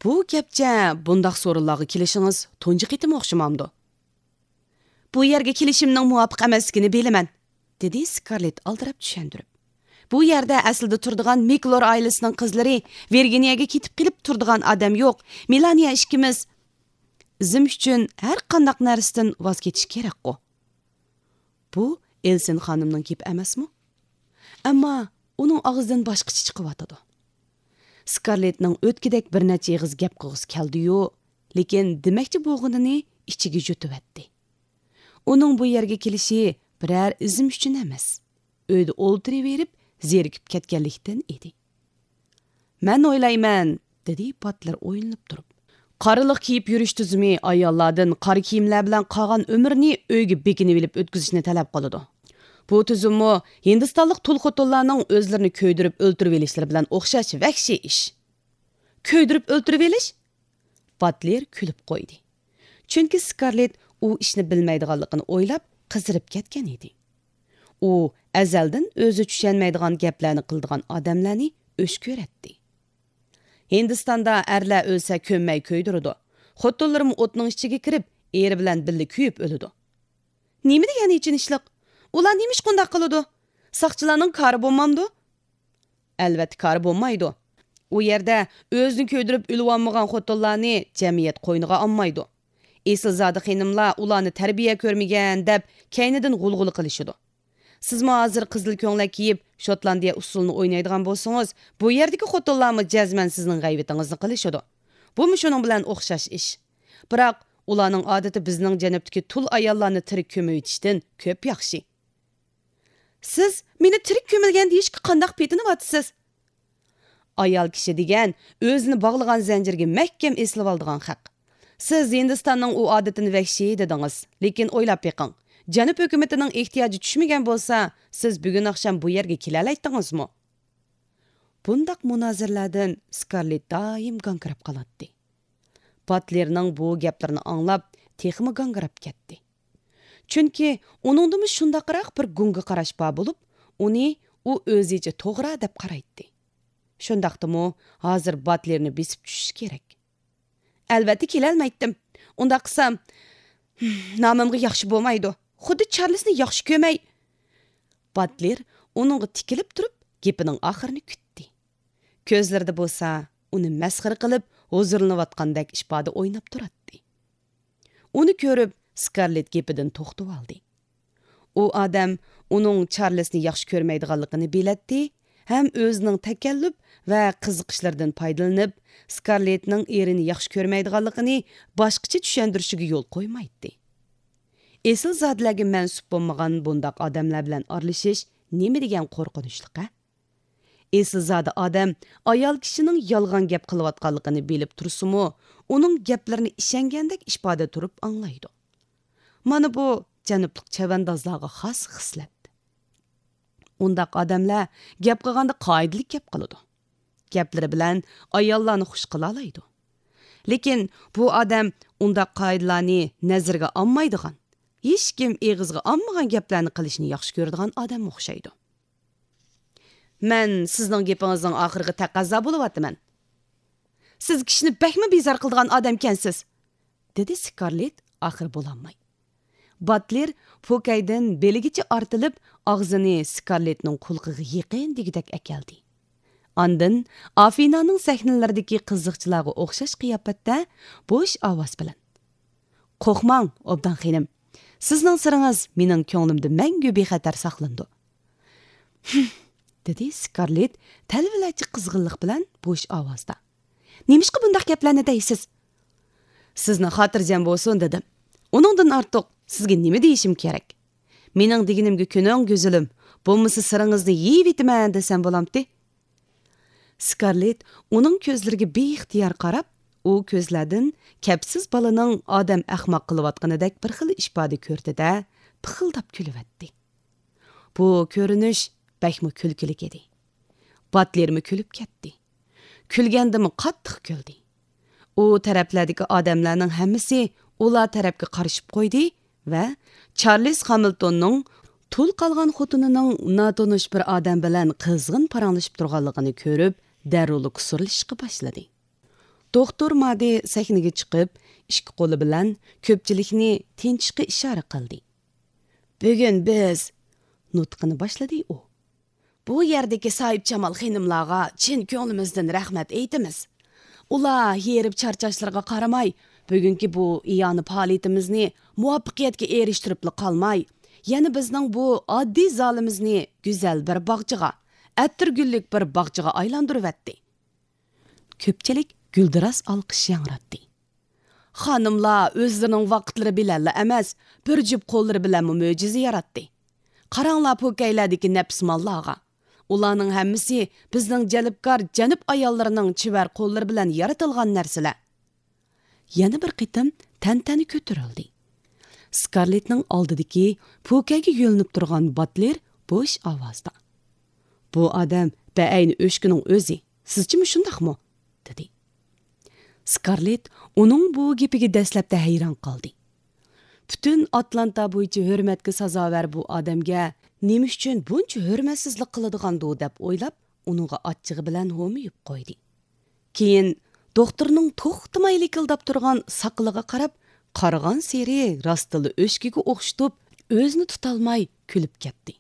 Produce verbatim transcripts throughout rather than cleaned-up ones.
بۇ گەپچە بۇنداق سورۇنلارغا كېلىشىڭىز تۇنجى قېتىم ئوخشىمامدۇ؟ بۇ يەرگە كېلىشىمنىڭ مۇۋاپىق ئەمەسلىكىنى بىلىمەن، دېدى سكارلېت ئالدىراپ چۈشەندۈرۈپ. بۇ يەردە ئەسلىدە تۇرىدىغان مىكلور ئائىلىسىنىڭ قىزلىرى ۋىرگىنىيەگە كېتىپ قېلىپ تۇرىدىغان ئادەم يوق. مېلانىيە ئىككىمىز ئىزىم ئۈچۈن ھەر قانداق نەرسىدىن ۋاز كېچىش كېرەكقۇ. بۇ ئېلسىن خانىمنىڭ گېپى ئەمەسمۇ؟ ئەمما ئۇنىڭ ئاغزىدىن باشقىچە چىقىۋاتىدۇ. سكارلېتنىڭ ئۆتكىدەك بىر نەچچە ئېغىز گەپ قىلغۇسى كەلدىيۇ، لېكىن دېمەكچى بولغىنىنى ئىچىگە يۇتۇۋەتتى. ئۇنىڭ بۇ يەرگە كېلىشى بىرەر ئىزىم ئۈچۈن ئەمەس، ئۆيدە ئولتۇرۇۋېرىپ زېرىكىپ كەتكەنلىكتىن ئىدى. مەن ئويلايمەن، دېدى باتلېر ئويلىنىپ تۇرۇپ. قارىلىق كىيىپ يۈرۈش تۈزۈمى ئاياللاردىن قارا كىيىملەر بىلەن قالغان ئۆمرىنى ئۆيگە بېكىنىۋېلىپ ئۆتكۈزۈشنى تەلەپ قىلىدۇ. بۇ تۈزۈممۇ ھىندىستانلىق تۇل خوتۇنلارنىڭ ئۆزلىرىنى كۆيدۈرۈپ ئۆلتۈرۈۋېلىشلىرى بىلەن ئوخشاش ۋەھشىي ئىش. كۆيدۈرۈپ ئۆلتۈرۈۋېلىش؟ باتلېر كۈلۈپ قويدى. چۈنكى سكارلېت ئۇ ئىشنى بىلمەيدىغانلىقىنى ئويلاپ، قىزىرىپ كەتكەن ئىدى. ئۇ ئەزەلدىن ئۆزى چۈشەنمەيدىغان گەپلەرنى قىلىدىغان ئادەملەرنى ئۆچ كۆرەتتى. ھىندىستاندا ئەرلەر ئۆلسە كۆممەي كۆيدۈرىدۇ. خوتۇنلىرىمۇ ئوتنىڭ ئىچىگە كىرىپ، ئېرى بىلەن بىللە كۆيۈپ ئۆلىدۇ. نېمە دېگەن ئېچىنىشلىق؟ ئۇلار نېمىشقا ئۇنداق قىلىدۇ؟ ساقچىلارنىڭ كارى بولمامدۇ؟ ئەلۋەتتە كارى بولمايدۇ. ئۇ يەردە ئۆزىنى كۆيدۈرۈپ ئۆلۈۋالمىغان خوتۇنلارنى جەمئىيەت قوينىغا ئالمايدۇ. ئېسىلزادە خېنىملار ئۇلارنى تەربىيە كۆرمىگەن دەپ كەينىدىن غۇلغۇلا قىلىشىدۇ. سىزمۇ ھازىر قىزىل كۆڭلەك كىيىپ، شوتلاندىيە ئۇسسۇلىنى ئوينايدىغان بولسىڭىز، بۇ يەردىكى خوتۇنلارمۇ جەزمەن سىزنىڭ غەيۋىتىڭىزنى قىلىشىدۇ. بۇمۇ شۇنىڭ بىلەن ئوخشاش ئىش. بىراق، ئۇلارنىڭ ئادىتى بىزنىڭ جەنۇبتىكى تۇل ئاياللارنى تىرىك كۆمۈۋېتىشتىن كۆپ ياخشى. سىز مېنى تىرىك كۆمۈلگەن دېيىشكە قانداق پېتىنىۋاتىسىز؟ ئايال كىشى دېگەن ئۆزىنى باغلىغان زەنجىرگە مەھكەم ئېسىلىۋالىدىغان خەق. سىز ھىندىستاننىڭ ئۇ ئادىتىنى ۋەھشىي دېدىڭىز، لېكىن ئويلاپ بېقىڭ، جەنۇب ھۆكۈمىتىنىڭ ئېھتىياجى چۈشمىگەن بولسا، سىز بۈگۈن ئاخشام بۇ يەرگە كېلەلەيتتىڭىزمۇ؟ بۇنداق مۇنازىرىلەردىن سكارلېت دائىم گاڭگىراپ قالاتتى. باتلېرنىڭ بۇ گەپلىرىنى ئاڭلاپ، تېخىمۇ گاڭگىراپ كەتتى. چۈنكى ئۇنىڭدىمۇ شۇنداقراق بىر گۇڭگا قاراش بار بولۇپ، ئۇنى ئۇ ئۆزىچە توغرا دەپ قارايتتى. شۇنداقتىمۇ ھازىر باتلېرنى بېسىپ چۈشۈش كېرەك. ئەلۋەتتە كېلەلمەيتتىم. ئۇنداق قىلسام، نامىمغا ياخشى بولمايدۇ. خۇددى چارلىسنى ياخشى كۆرمەي. باتلېر ئۇنىڭغا تىكىلىپ تۇرۇپ، گېپىنىڭ ئاخىرىنى كۈتتى. كۆزلىرىدە بولسا ئۇنى مەسخىرە قىلىپ، ھۇزۇرلىنىۋاتقاندەك ئىپادە ئويناپ تۇراتتى. ئۇنى كۆرۈپ، سكارلېت گېپىدىن توختىۋالدى. ئۇ ئادەم ئۇنىڭ چارلىسنى ياخشى كۆرمەيدىغانلىقىنى بىلەتتى ھەم ئۆزىنىڭ تەكەللۇپ ۋە قىزىقىشلىرىدىن پايدىلىنىپ، سكارلېتنىڭ ئېرىنى ياخشى كۆرمەيدىغانلىقىنى باشقىچە چۈشەندۈرۈشىگە يول قويمايتتى. ئېسىلزادىلەرگە مەنسۇپ بولمىغان بۇنداق ئادەملەر بىلەن ئارىلىشىش نېمە دېگەن قورقۇنچلۇق-ھە؟ ئېسىلزادە ئادەم ئايال كىشىنىڭ يالغان گەپ قىلىۋاتقانلىقىنى بىلىپ تۇرسىمۇ، ئۇنىڭ گەپلىرىنى ئىشەنگەندەك ئىپادە تۇرۇپ ئاڭلايدۇ. مانا بۇ جەنۇبلۇق چەۋەندازلارغا خاس خىسلەت. ئۇنداق ئادەملەر گەپ قىلغاندا قائىدىلىك گەپ قىلىدۇ. گەپلىرى بىلەن ئاياللارنى خۇش قىلالايدۇ. لېكىن بۇ ئادەم ئۇنداق قائىدىلارنى نەزىرىگە ئالمايدىغان، ھېچكىم ئېغىزغا ئالمىغان گەپلەرنى قىلىشنى ياخشى كۆرىدىغان ئادەمگە ئوخشايدۇ. مەن سىزنىڭ گېپىڭىزنىڭ ئاخىرىغا تەقەززا بولۇۋاتىمەن. سىز كىشىنى بەكمۇ بىزار قىلىدىغان ئادەمكەنسىز، دېدى سكارلېت ئاخىرى بولالماي. باتلېر پوكەيدىن بېلىگىچە ئارتىلىپ، ئاغزىنى سكارلېتنىڭ قۇلىقىغا يېقىن دېگۈدەك ئەكەلدى. ئاندىن ئافىنانىڭ سەھنىلىرىدىكى قىزىقچىلارغا ئوخشاش قىياپەتتە بوش ئاۋاز بىلەن، قورقماڭ، ئوبدان خېنىم. سىزنىڭ سىرىڭىز مېنىڭ كۆڭلۈمدە مەڭگۈ بىخەتەر ساقلىنىدۇ. ھىم، دېدى سكارلېت تەلۋىلەرچە قىزغىنلىق بىلەن بوش ئاۋازدا. نېمىشقا بۇنداق گەپلەرنى دەيسىز؟ سىزنىڭ خاتىرجەم بولسۇن دېدىم. ئۇنىڭدىن ئارتۇق سىزگە نېمە دېيىشىم كېرەك؟ مېنىڭ دېگىنىمگە كۆنۈڭ، گۈزىلىم، بولمىسا سىرىڭىزنى يېيىۋېتىمەن دېسەم بولامتى؟ سكارلېت ئۇنىڭ كۆزلىرىگە بىئىختىيار قاراپ، ئۇ كۆزلەردىن كەپسىز بالىنىڭ ئادەم ئەخمەق قىلىۋاتقىنىدەك بىر خىل ئىپادە كۆردى-دە، پىخىلداپ كۈلۈۋەتتى. بۇ كۆرۈنۈش بەكمۇ كۈلكىلىك ئىدى. باتلېرمۇ كۈلۈپ كەتتى. كۈلگەندىمۇ قاتتىق كۈلدى. ئۇ تەرەپلەردىكى ئادەملەرنىڭ ھەممىسى ئۇلار تەرەپكە قارىشىپ قويدى ۋە چارلىز خامىلتوننىڭ تۇل قالغان خوتۇنىنىڭ ناتونۇش بىر ئادەم بىلەن قىزغىن پاراڭلىشىپ تۇرغانلىقىنى كۆرۈپ، دەررۇلا كۇسۇرلىشىشقا باشلىدى. دوختۇر مادى سەھنىگە چىقىپ، ئىككى قولى بىلەن كۆپچىلىكنى تىنچىشقا ئىشارە قىلدى. بۈگۈن بىز، نۇتقىنى باشلىدى ئۇ. بۇ يەردىكى ساھىبجامال خېنىملارغا چىن كۆڭلىمىزدىن رەھمەت ئېيتىمىز. ئۇلار ھېرىپ چارچاشلىرىغا قارىماي، بۈگۈنكى بۇ ئىئانە پائالىيىتىمىزنى مۇۋەپپەقىيەتكە ئېرىشتۈرۈپلا قالماي، يەنە بىزنىڭ بۇ ئاددىي زالىمىزنى گۈزەل بىر باغچىغا، ئەتىرگۈللۈك بىر باغچىغا ئايلاندۇرۇۋەتتى. كۆپچىلىك گۈلدۈراس ئالقىش ياڭراتتى. خانىملار ئۆزلىرىنىڭ ۋاقىتلىرى بىلەنلا ئەمەس، بىر جۈپ قوللىرى بىلەنمۇ مۆجىزە ياراتتى. قاراڭلار پوكەيلەردىكى نەپىسماللارغا. ئۇلارنىڭ ھەممىسى بىزنىڭ جەلپكار جەنۇب ئاياللىرىنىڭ چېۋەر قوللىرى بىلەن يارىتىلغان نەرسىلەر. يەنە بىر قېتىم تەنتەنە كۆتۈرۈلدى. سكارلېتنىڭ ئالدىدىكى پوكەيگە يۆلىنىپ تۇرغان باتلېر بوش ئاۋازدا: «بۇ ئادەم بەئەينى ئۆچكىنىڭ ئۆزى، سىزچىمۇ شۇنداقمۇ؟» دېدى. سكارلېت ئۇنىڭ بۇ گېپىگە دەسلەپتە ھەيران قالدى. پۈتۈن ئاتلانتا بويىچە ھۆرمەتكە سازاۋەر بۇ ئادەمگە نېمە ئۈچۈن بۇنچە ھۆرمەتسىزلىك قىلىدىغاندۇ دەپ ئويلاپ، ئۇنىڭغا ئاچچىقى بىلەن ھومىيىپ قويدى. كېيىن دوختۇرنىڭ توختىماي لىكىلداپ تۇرغان ساقىلىغا قاراپ، قارىغانسېرى راستتىنلا ئۆچكىگە ئوخشىتىپ، ئۆزىنى تۇتالماي كۈلۈپ كەتتى.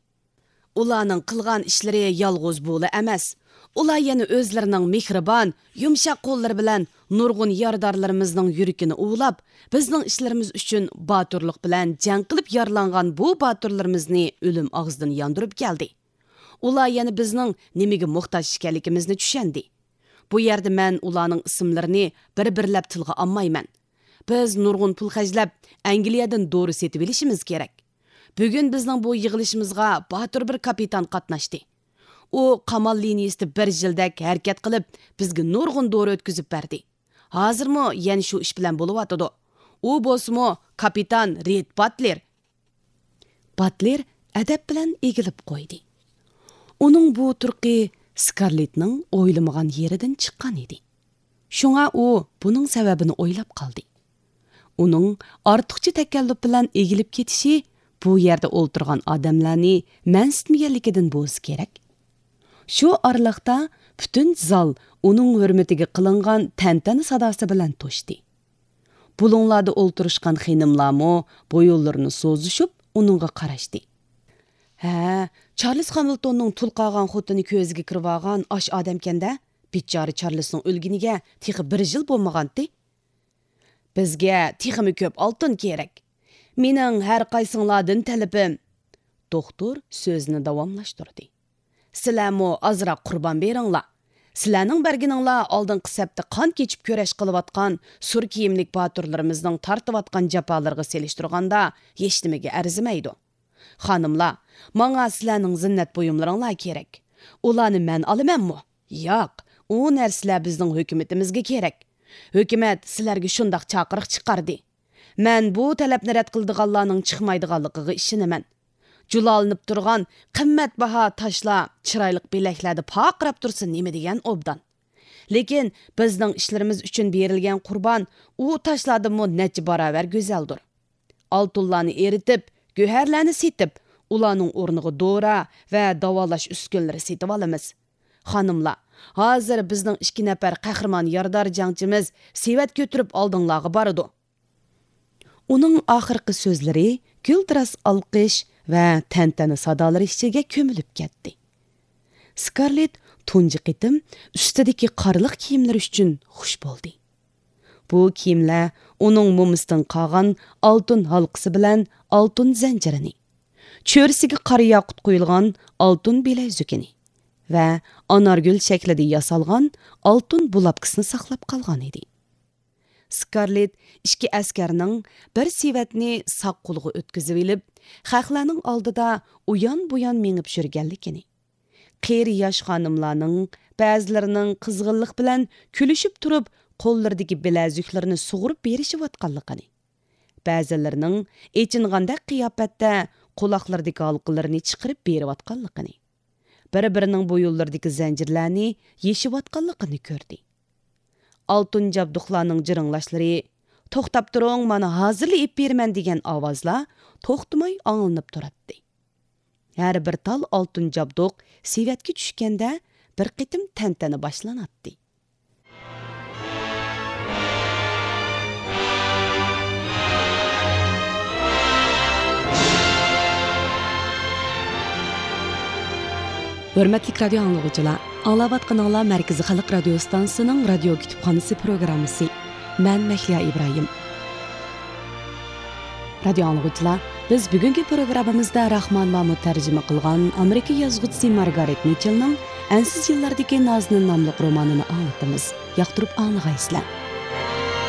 ئۇلارنىڭ قىلغان ئىشلىرى يالغۇز بۇلا ئەمەس. ئۇلار يەنە ئۆزلىرىنىڭ مېھرىبان، يۇمشاق قوللىرى بىلەن نۇرغۇن يارىدارلىرىمىزنىڭ يۈرىكىنى ئۇۋىلاپ، بىزنىڭ ئىشلىرىمىز ئۈچۈن باتۇرلۇق بىلەن جەڭ قىلىپ يارىلانغان بۇ باتۇرلىرىمىزنى ئۆلۈم ئاغزىدىن ياندۇرۇپ كەلدى. ئۇلار يەنە بىزنىڭ نېمىگە موھتاج ئىكەنلىكىمىزنى چۈشەندى. بۇ يەردە مەن ئۇلارنىڭ ئىسىملىرىنى بىر-بىرلەپ تىلغا ئالمايمەن. بىز نۇرغۇن پۇل خەجلەپ، ئەنگلىيەدىن دورا سېتىۋېلىشىمىز كېرەك. بۈگۈن بىزنىڭ بۇ يىغىلىشىمىزغا باتۇر بىر كاپىتان قاتناشتى. ئۇ قامال لىنىيىسىدە بىر يىلدەك ھەرىكەت قىلىپ، بىزگە نۇرغۇن دورا ئۆتكۈزۈپ بەردى. ھازىرمۇ يەنە شۇ ئىش بىلەن بولۇۋاتىدۇ. ئۇ بولسىمۇ كاپىتان رىد باتلېر. باتلېر ئەدەپ بىلەن ئېگىلىپ قويدى. ئۇنىڭ بۇ تۇرقى سكارلېتنىڭ ئويلىمىغان يېرىدىن چىققان ئىدى. شۇڭا ئۇ بۇنىڭ سەۋەبىنى ئويلاپ قالدى. ئۇنىڭ ئارتۇقچە تەكەللۇپ بىلەن ئېگىلىپ كېتىشى بۇ يەردە ئولتۇرغان ئادەملەرنى مەنسىتمىگەنلىكىدىن بولسا كېرەك. شۇ ئارىلىقتا پۈتۈن زال ئۇنىڭ ھۆرمىتىگە قىلىنغان تەنتەنە ساداسى بىلەن توشتى. بۇلۇڭلاردا ئولتۇرۇشقان خېنىملارمۇ بويۇنلىرىنى سوزۇشۇپ ئۇنىڭغا قاراشتى. ھە، چارلىز خامىلتوننىڭ تۇل قالغان خوتۇنى كۆزىگە كىرىۋالغان ئاش ئادەمكەندە، بىچارە چارلىزنىڭ ئۆلگىنىگە تېخى بىر يىل بولمىغانتى. بىزگە تېخىمۇ كۆپ ئالتۇن كېرەك. مېنىڭ ھەر قايسىڭلاردىن تەلىپىم. دوختۇر سۆزىنى داۋاملاشتۇردى. سىلەرمۇ ئازراق قۇربان بېرىڭلار. سىلەرنىڭ بەرگىنىڭلار ئالدىنقى سەپتە قان كېچىپ كۈرەش قىلىۋاتقان سۈر كىيىملىك باتۇرلىرىمىزنىڭ تارتىۋاتقان جاپالىرىغا سېلىشتۇرغاندا ھېچنېمىگە ئەرزىمەيدۇ. خانىملار، ماڭا سىلەرنىڭ زىننەت بۇيۇملىرىڭلار كېرەك. ئۇلارنى مەن ئالىمەنمۇ؟ ياق، ئۇ نەرسىلەر بىزنىڭ ھۆكۈمىتىمىزگە كېرەك. ھۆكۈمەت سىلەرگە شۇنداق چاقىرىق چىقاردى. مەن بۇ تەلەپنى رەت قىلىدىغانلارنىڭ چىقمايدىغانلىقىغا ئىشىنىمەن. جۇلالىنىپ تۇرغان قىممەتباھا تاشلار چىرايلىق بىلەكلەردە پارقىراپ تۇرسا نېمە دېگەن ئوبدان. لېكىن بىزنىڭ ئىشلىرىمىز ئۈچۈن بېرىلگەن قۇربان ئۇ تاشلاردىنمۇ نەچچە باراۋەر گۈزەلدۇر. ئالتۇنلارنى ئېرىتىپ، گۆھەرلەرنى سېتىپ، ئۇلارنىڭ ئورنىغا دورا ۋە داۋالاش ئۈسكۈنىلىرى سېتىۋالىمىز. خانىملار، ھازىر بىزنىڭ ئىككى نەپەر قەھرىمان يارىدار جەڭچىمىز سېۋەت كۆتۈرۈپ ئالدىڭلارغا بارىدۇ. ئۇنىڭ ئاخىرقى سۆزلىرى گۈلدۈراس ئالقىش ۋە تەنتەنە سادالىرى ئىچىگە كۆمۈلۈپ كەتتى. سكارلېت تۇنجى قېتىم ئۈستىدىكى قارىلىق كىيىملىرى ئۈچۈن خۇش بولدى. بۇ كىيىملەر ئۇنىڭ مومىسىدىن قالغان ئالتۇن ھالقىسى بىلەن ئالتۇن زەنجىرىنى، چۆرىسىگە قارا ياقۇت قويۇلغان ئالتۇن بىلەزۈكىنى ۋە ئانارگۈل شەكلىدە ياسالغان ئالتۇن بۇلاپكىسىنى ساقلاپ قالغان ئىدى. سكارلېت ئىككى ئەسكەرنىڭ بىر سېۋەتنى ساق قولىغا ئۆتكۈزۈۋېلىپ، خەقلەرنىڭ ئالدىدا ئۇيان-بۇيان مېڭىپ يۈرگەنلىكىنى، قېرى ياش خانىملارنىڭ بەزىلىرىنىڭ قىزغىنلىق بىلەن كۈلۈشۈپ تۇرۇپ، قوللىرىدىكى بىلەزۈكلىرىنى سۇغۇرۇپ بېرىشىۋاتقانلىقىنى، بەزىلىرىنىڭ ئېچىنغاندەك قىياپەتتە قۇلاقلىرىدىكى ھالقىلىرىنى چىقىرىپ بېرىۋاتقانلىقىنى، بىر-بىرىنىڭ بويۇنلىرىدىكى زەنجىرلەرنى يېشىۋاتقانلىقىنى كۆردى. ئالتۇن جابدۇقلارنىڭ جىرىڭلاشلىرى، «توختاپ تۇرۇڭ، مانا ھازىرلا ئېلىپ بېرىمەن» دېگەن ئاۋازلار توختىماي ئاڭلىنىپ تۇراتتى. ھەر بىر تال ئالتۇن جابدۇق سېۋەتكە چۈشكەندە، بىر قېتىم تەنتەنە باشلىناتتى. ھۆرمەتلىك رادىيو ئاڭلىغۇچىلار، ئاڭلاۋاتقىنىڭلار مەركىزىي خەلق رادىيو ئىستانسىسىنىڭ رادىيو كۇتۇپخانىسى پروگراممىسى. مەن مەھلىيا ئىبراھىم. رادىيو ئاڭلىغۇچىلار، بىز بۈگۈنكى پروگراممىمىزدا راخمان مامۇت تەرجىمە قىلغان ئامېرىكا يازغۇچىسى مارگارېت مىچېلنىڭ ئەنسىز يىللاردىكى نازىنىن ناملىق رومانىنى ئاڭلىتىمىز. ياقتۇرۇپ ئاڭلىغايسىلەر.